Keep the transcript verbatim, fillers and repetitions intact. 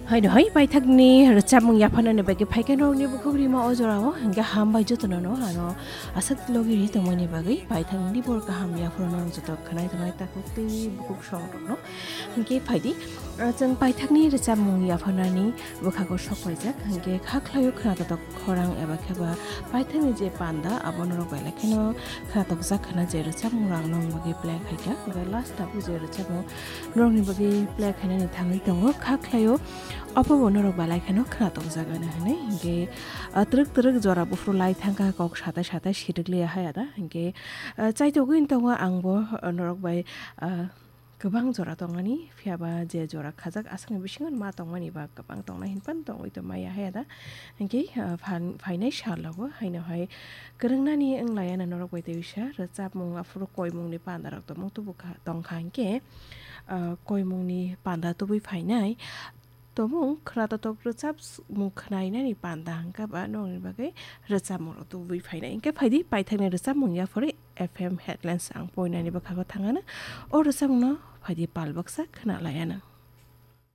Haino hai paithakni rwchapmung yapharnani bagwi phaikhe norokni bukhuk rima o jorao, hwnkhe hambai jotono no ano aswk logi ri tongmani bagwi paithakni bor kaham yapharo norok joto khwnai tongnai takhuk tei bukhuk songrokno. Hwnkhe phaidi, ah, chwng paithakni rwchapmung yapharnani bwkhago sok paijak, hwnkhe kha khlaio khwnatok khorang eba khe ba paithakni je panda abo norok bai lai kheno khwnatokjak khwna je rwchapmung rang nong bagwi play khaikha, hwnkhe last tabuk je rwchapmung norokni bagwi play khainani thangwi tongo, kha khlaio obo bo norok bai lai kheno khwnatokjak ano hwnwi. Hwnkhe, ah, twrwk twrwk jora buphuru lai thangkha kok satai satai sirwk liya hai ada. Hwnkhe, ah, chaitogwi tongo angbo, ah, norok bai, ah, kwbang jora tongmani, phiya ba je jora khajak aswkni bisingo ma tongmani ba kwbang tongnai hinphano tongwi tongmaya hai ada. Hwnkhe, ah, phan-, phainai salogo haino hai kwrwngnani wng laiya na norok bai tei bisa rwchapmung aphuru koimungni pandarok tongmung tubu kha, tongkha hwnkhe, ah, koimungni panda tubui phainai. Tomung khwnatok rwchapmung khwnainani panda hwnkhe ba nokni bagwi rwchapmungrok tubui phainai. Hwnkhe phaidi paithakni rwchapmung yaphori F M headlines ang poinani bwkhago thangano. O rwchapmungno phaidi pal baksa khwna laiano.